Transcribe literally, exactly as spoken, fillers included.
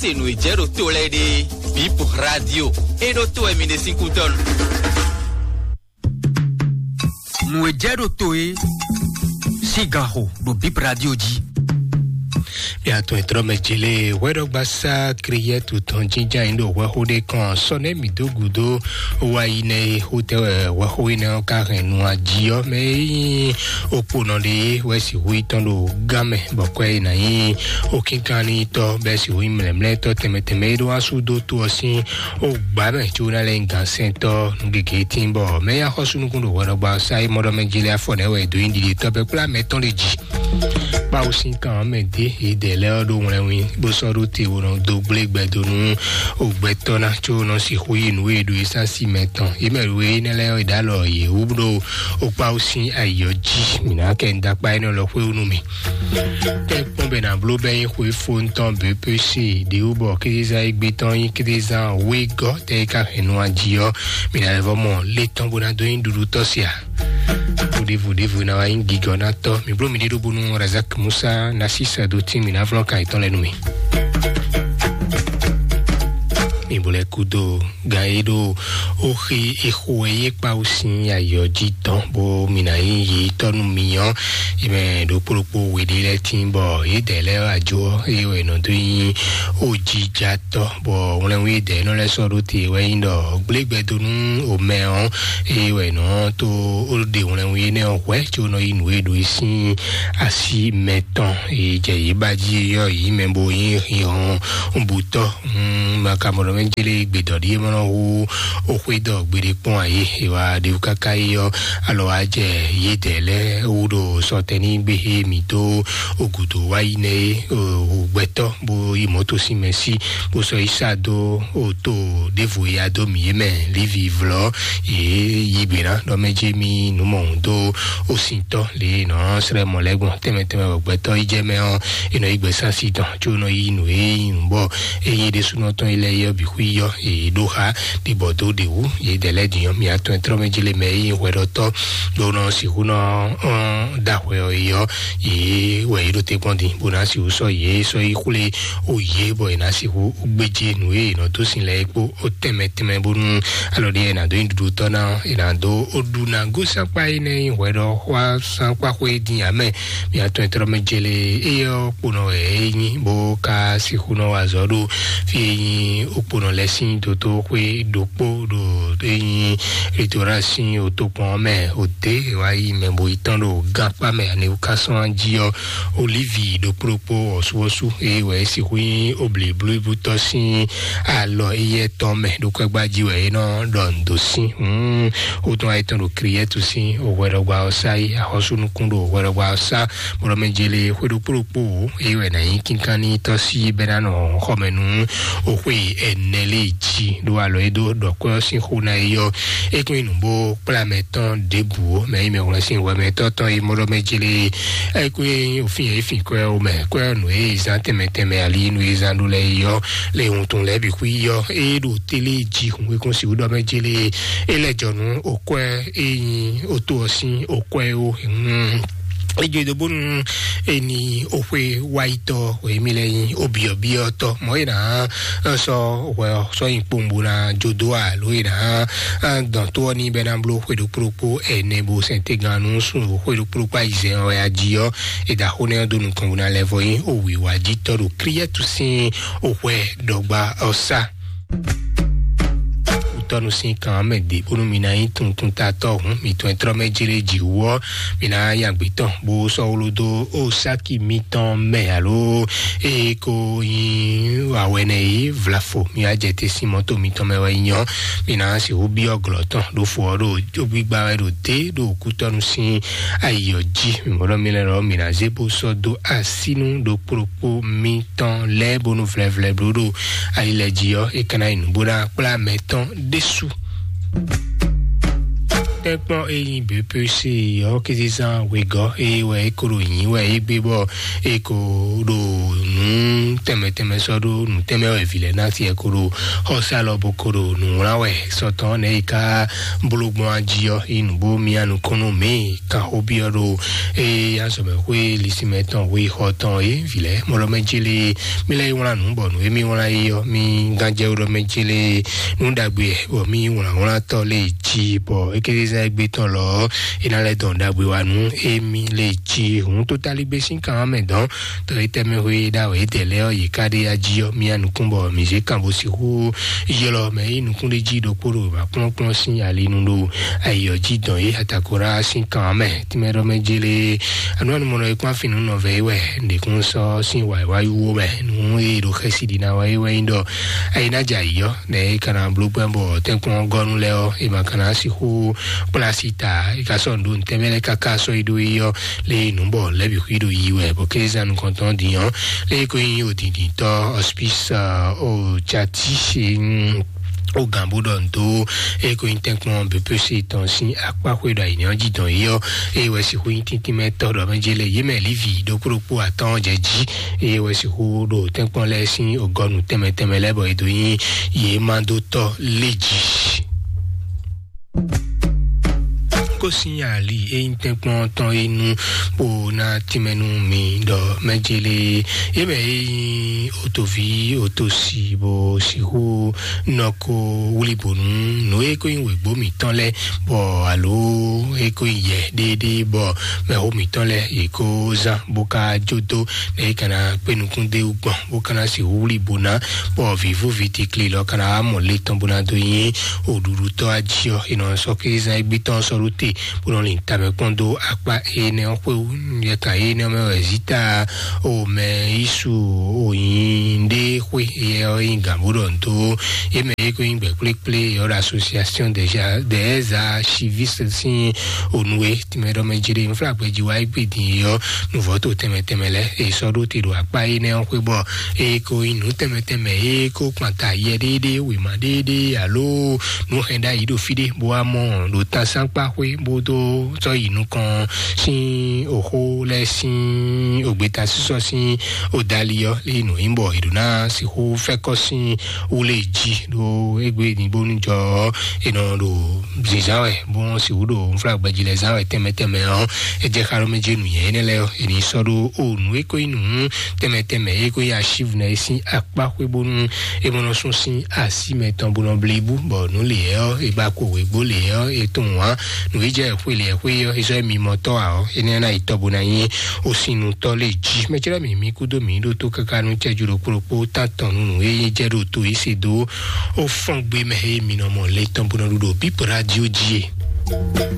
Se nǔ e jɛ ɖo to lɛ́ɛ ɖe, Bip Radio, e ɖo to wɛ mi ɖe sín kútɔ́ nu. Nǔ e jɛ ɖo to e sín ganxo ɖo Bip Radio jí. Mia tɔn e tlɔ́ mɛ jele hwɛɖɔgbasá Kriyɛtu tɔn jínján yín ɖo hwɛxó ɖé kɔn sɔ nɛ́ mǐ dó gǔdo wá yi nɛ́ e xó tɛ wɛ hwɛxó énɛ́ ɔ́ ka hɛn nu ají ɔ́ mɛ e nyí okponɔ ɖé wɛ sixú yi tɔn ɖo gán mɛ bɔ kwɛ e ná nyí okínkanlítɔ́ bɛ́ sixú nyí mlɛ̌mlɛ́tɔ́ tɛnmɛ tɛnmɛ e ɖó wá sú dó to ɔ́ sín ogbǎ mɛ có ná lɛ́ nyí gǎnsɛntɔ́ nú gěgé tín bɔ mɛ e axɔ́súnukún ɖo hwɛɖɔgbasá e mɔɖɔmɛ jele afɔ nɛ́ wɛ è dó nyi ɖiɖitɔ́ bɛ́ kplá mɛ tɔn ɖe jí. Kpawú sín kan ɔ́ mɛ dé yědɛɛ lɛ́ɛ ɔ́ ɖó wlɛnwin bó sɔ́ ɖó te wo nɔ dó gblé gbɛ dó nú ogbɛtɔ́ ná có nɔ sixú yi nǔ e ɖo e sín asi mɛ tɔn. Yě mɛ ɖo énɛ́ lɛ́ɛ ɔ́, è ɖó alɔ yě wú ɖó okpáwú sín ayǐ ɔ́ jí. Mǐ ná kɛ nǔ dó akpá énɛ́ lɔ xwé wú nú mì. Tɛ́nkpɔ́n bɛ́ ná bló bɛ́ nyí xwefó tɔn B P C ɖě wú bɔ kézezán e gbé tɔn nyí kézezán wegɔ́ tɛ e ka hɛn nu ají ɔ́, mǐ ná lɛ́ vɔ́ mɔ lé tɔn bó ná dó nyí ɖuɖu tɔ́ sia. Vodévo ɖěvo ná wá nyí gigɔ ná tɔ́. Mǐ bló mǐɖée ɖó bónú Razak Musa ná sísɛ dó tín mǐ ná vlɔ́ kan yětɔn lɛ́ɛ nú mì. Mi bo lɛ́ kúdó gan e ɖo oxi ixo e yé kpawú sín ayɔ jí tɔn bó mi ná nyí yi tɔ́ nú mi ɔ́, yi mɛ ɖokpó ɖokpó we ɖé lɛ́ɛ tín bɔ yědɛɛ lɛ́ɛ wá jó ɔ́, eye wɛ nɔ dó nyí ojijatɔ́, bɔ wlɛnwí yědɛɛ nɔ lɛ́ sɔ́ ɖó te wɛ nyí ɖɔ gblé gbɛ dó nú omɛ ɔ́, eye wɛ nɔ tó ɖe wlɛnwí énɛ́ ɔ́ hwɛ̌ có nɔ yí nǔ e ɖo e sín asi mɛ tɔn e jɛ yě ba jí ɔ́ yí mɛ bo nyí hihɔn butɔ́. Makamɔɖɔ mɛ jélé gbedɔɖí e mɔ nɔ hu oxwé dɔ gbeɖé kpɔn ayé e wa ɖe káká yi ɔ́, alɔ wa jɛ yédɛɛ lɛ́ɛ wú ɖo sɔtɛní gbé he mǐ dó ogudo wá yi nɛ é, o gbɛtɔ́ bó yi mɔ̌ to sín mɛ sí bó sɔ́ yi sá dó o to ɖěvo ya dó mǐ é mɛ lívi vlɔ́ yě yi gbe ná ɖɔ mɛ jí mí nǔ mɔ̌hun dó osintɔ́ lě nɔ srɛ mɔ lɛ́ gbɔn tɛnmɛ tɛnmɛ wɛ gbɛtɔ́ yi jɛ mɛ ɔ́, è nɔ yi gbɛ sásí tɔn có nɔ yi nǔ e nyí nǔ bɔ ényí ɖésúnɔ tɔn yi lɛ́ɛ yɔ bǐ xwí yɔ è ɖó xá ɖibɔ dó ɖě wú yě dɛ lɛ́ din ɔ́, mǐ atɔn e tlɔ́ mɛ jí lé mɛ e nyí hwɛɖɔtɔ́ ɖó nɔ sixú nɔ ɔ́n ɖó ahwɛ ɔ́ yi ɔ́, yě wɛ yě ɖo te kpɔ́n din bó ná sixú sɔ́ yě sɔ́ yi xwlé o yě bɔ è nǎ sixú gbéjé nǔ e è nɔ dó sin lɛ́ɛ é kpó ó tɛnmɛ tɛnmɛ bónú alɔ ɖíe è nǎ dó nyi ɖuɖu tɔ́ ná è nǎ dó ó ɖu ná gosín akpá énɛ́ nyí hwɛɖɔxwásán kpáxwé dín ǎ mɛ. Mǐ atɔn e tlɔ́ mɛ jélé éyɛ́ ɔ́ kponɔ wɛ é nyí bó ka sixú nɔ wa azɔ̌ ɖo fí e nyí okponɔ lɛ́ɛ sín dotóxwé ɖokpó ɖo é nyí Litorá sín otokpɔn ɔ́ mɛ òdě e wá yi mɛ bo yi tɔn ɖo gankpá mɛ ani wú ká sɔ́n jí ɔ́, olívi ɖokpó ɖokpó ɔ́súɔ́sú e wɛ é sixú nyí oblěblúbútɔ́ sín alɔ éyɛ́ tɔn mɛ ɖo kwɛ́gbá jí wɛ é nɔ ɖɔ nǔ dó sín. Hǔn ó tún wá yi tɔn ɖo Kriyɛ́tu sín òhwɛɖɔgba ɔ́ sá yi axɔ́súnukún ɖo òhwɛɖɔgba ɔ́ sá bɔlɔmɛjele xwé ɖokpó ɖokpó wǒ, é wɛ ná nyí kínkanní tɔ́ sí bɛ́ ná nɔ xɔmɛ nú oxwé ɛnɛ lé jí ɖó alɔ é dó ɖɔ kwɛ́ ɔ́ sín xó ná é yɔ. É kún nyí nǔ bó kplá mɛ tɔn ɖěbǔ ó, mɛ nyí mɛ wlɛ́ sín hwɛ mɛ tɔn tɔn é mɔɖɔ mɛ jélé. É kún nyí òfin e é fin kwɛ́ ó mɛ, kwɛ́ nǔ e zán tɛnmɛ tɛnmɛ ali nú e zán ɖó lɛ́ɛ é yɔ, lé wuntun lɛ́ɛ bǐ xwí yɔ. É ɖo télé jí hun é kún sixú ɖɔ mɛ jélé. É lɛ́ jɔ nú òkwɛ́ é nyí oto ɔ́ sín òkwɛ́ ó. Ejo do bónú eni oxwe wáyitɔ wɛ mi lɛ nyi obiɔbiɔtɔ mɔ yina sɔ wɛ sɔ yin kpombo na jodo alo yina dɔn to ɔni bɛ na blo xwe ɖokpo ɖokpo ɛnɛ bo sɛntegan nu sun xwe ɖokpo ɖokpo ayizɛn wɛ aji ɔ eda xo nɛ do nukɔn bo na lɛ vɔ yin owi wa ji tɔ ɖo kriyɛtu sin oxwe dɔgba ɔsa. Utɔnu sin kan mɛ de bónú mi na nyí tuntun tatɔ hun mi tɔn trɔ mɛ jere ji wɔ mi na nya gbetɔ bó sɔ wolo do o saki mitɔn mɛ alo e ko nyi awɛnɛ yi vlafo mi a jɛ te sin mɔto mitɔn mɛ wɛ nyɔ mi na si wo biɔ glɔ tɔn ɖo fo ɔ ɖo gbigba wɛ ɖo de ɖo kutɔnu sin ayiyɔ ji mi mɔdɔ mi lɛ lɔ mi na ze bó sɔ do asinu ɖo kplokpo mi tɔn lɛ bónú vlɛvlɛ bló ɖo ayi lɛ ji ɔ e kana yi nubó na kplá mɛ tɔn ɖésú. Tɛkpɔn eyi B P C ɔ kézezán wegɔ eye wɛ e ko ɖo nyi wɛ e gbé bɔ e ko ɖo nǔ tɛnmɛ tɛnmɛ sɔ́ ɖó nǔ tɛnmɛ wɛ vǐ lɛ́ɛ ná tiɛ ko ɖo xɔsá lɔ bo ko ɖo nǔ wlán wɛ sɔtɔn nɛ yi ká bló gbɔn ají ɔ́ yi nǔ bó mia nukúnnú mǐ kan xó byɔ́ ɖo eye azɔ̌mɛxwé lisimɛ tɔn xwé xɔ tɔn é vǐ lɛ́ɛ mɔ ɖɔ mɛ jélé mí lɛ́ yi wlán nǔ bɔ nǔ e mí wlán yi ɔ́ mí gán jɛ ɖɔ mɛ jélé nǔ ɖagbe bɔ mí wlán wlán tɔ́ lé jí bɔ ékézézán égbé tɔn lɔ é ná lɛ́ dɔn ɖagbe wa nú émí lé jí hǔn tó tálígbé sín kan mɛ dɔn tɔ é tɛmɛ hwe ɖa wɛ é tɛ lɛ ɔ́ yě ká ɖé ya jí ɔ́ mía nukún bɔ mǐ zé kan bó sixú ylɔ́ mɛ é nukún ɖé jí ɖokpó ɖo wěma kplɔ́nkplɔ́n sín ali nu ɖo ayǐ ɔ́ jí dɔn é atakora sín kan mɛ tínmɛ ɖɔ mɛ jélé anu anumɔnɔ é kpán fínú nɔvɛ é wɛ ɖěkún sɔ́ sín wǎyíwáyí wó mɛ nú é ɖo xɛsi ɖi ná wá é wɛ nyí ɖɔ ayé ná jɛ ayǐ ɔ́ nɛ é ka ná bló gbɛ́ bɔ tɛ́nkpɔ́n gɔ́nú lɛ́ɛ ɔ́ é ma ka ná sixú kplá asi ta é ka sɔ́ nǔ ɖo ntɛ́nmɛ lɛ́ɛ káká sɔ́ yi ɖó yi ɔ́ lé nǔ bɔ lɛ̌ bǐ xwí ɖo yi wɛ bɔ kézá nukɔntɔn din ɔ́ lé ko nyí odǐndíntɔ́ hospice o jati o gǎn bó ɖɔ nǔ dó é ko nyí tɛ́nkpɔ́n B P C tɔn sín akpá xwé ɖo ayǐ ɔ́ jí dɔn yi ɔ́ é wɛ sixú nyí tíntín mɛ tɔ́ ɖɔ mɛ jɛ lɛ yě mɛ lívi ɖokpó ɖokpó atɔ́ɔ́n jɛ jí é wɛ sixú ɖo tɛ́nkpɔ́n lɛ́ɛ sín ogɔ́nu tɛnmɛ tɛnmɛ lɛ́ɛ bɔ é dó nyí yě ma dó tɔ́ lé jí. Kó sín ali é nyí tɛ́nkpɔ́n tɔn é nu bó ná tínmɛ nú mi ɖɔ mɛ jélé é mɛ é nyí otoví otosi bó sixú nɔ ko wlí bò nú nǔ e ko nyí wěgbó mǐtɔn lɛ́ɛ bɔ alo e ko nyí yɛ ɖéeɖée bɔ mɛxó mǐtɔn lɛ́ɛ yě ko zán bó ka jó dó nɛ é ka ná kpé nukún dó gbɔn bó ka ná sixú wlí bò ná bɔ vǐvú vǐtikli lɔ ka ná wá mɔ le tɔn bó ná dó nyí oɖuɖutɔ́ ají ɔ́ è nɔ sɔ́ kézán égbé tɔn sɔ́ ɖó te bó nɔ lin tamɛ kpɔ́n dó akpá énɛ́ ɔ́ xwé wú yɛ kan énɛ́ ɔ́ mɛ wɛ zita o mɛ yísu o nyi ɖé xwé yɛ ɔ́ nyi gǎn bó ɖɔ nǔ tó yé mɛ yé ko nyí gbɛ kplékplé yɛ ɔ́ ɖo association déjà des archivistes sín onú e tìmɛ ɖɔ mɛ jɛ ɖe nfúlàgbɛ jí wá égbé din yɛ ɔ́ nuvɔ́ to tɛnmɛ tɛnmɛ lɛ èyí sɔ́ ɖó te ɖo akpá énɛ́ ɔ́ xwé bɔ èyí ko nyí nǔ tɛnmɛ tɛnmɛ èyí ko kpanta yɛ ɖééɖéé wěma ɖééɖéé alo nǔ hɛn ɖ'ayǐ ɖo fí ɖé bó wá mɔ ɖo tasánkpá xwé bó dó sɔ́ yi nukɔn sín òxó lɛ́ɛ sín ògbéta sísɔ sín òdali ɔ́ lé nǔ nyí bɔ è ɖǒ ná sixú fɛ́kɔ sín wú lé jí ɖó égbé ní bónú jɔ ɔ́ è nɔ ɖo zǐnzán wɛ bó sixú ɖo nfúlagbɛjí lɛ́ɛ zán wɛ tɛnmɛ tɛnmɛ ɔ́ é jɛ xá ɖó mɛ jɛ nǔnyɛ énɛ́ lɛ́ɛ ɔ́ è ní sɔ́ ɖó o nǔ é ko nyí nǔ tɛnmɛ tɛnmɛ é ko nyí achiv nɛ é sín akpá xwé bónú é mɔ nɔ sún sín así mɛtɔn bó nɔ blí bú bɔ nǔ lě ɔ́ é ba ko wěgbó lě ɔ́ é tunwun ǎ nǔ é jɛ xwé lě xwé ɔ́ é sɔ́ é mi mɔ tɔ́ ǎ ɔ́ énɛ́ ná yi tɔ́ bó ná nyí ó sín nu tɔ́ lé jí mɛ cɛ́ mì mí kúdó mǐ ɖó tó káká nú cɛ́jú ɖokpó ɖokpó tán tɔn nú nǔ e jɛ ɖo to é se dó ó fɔ́n gbé mɛ é mi nɔ mɔ le tɔn bó nɔ ɖu ɖo bípo radio jí e.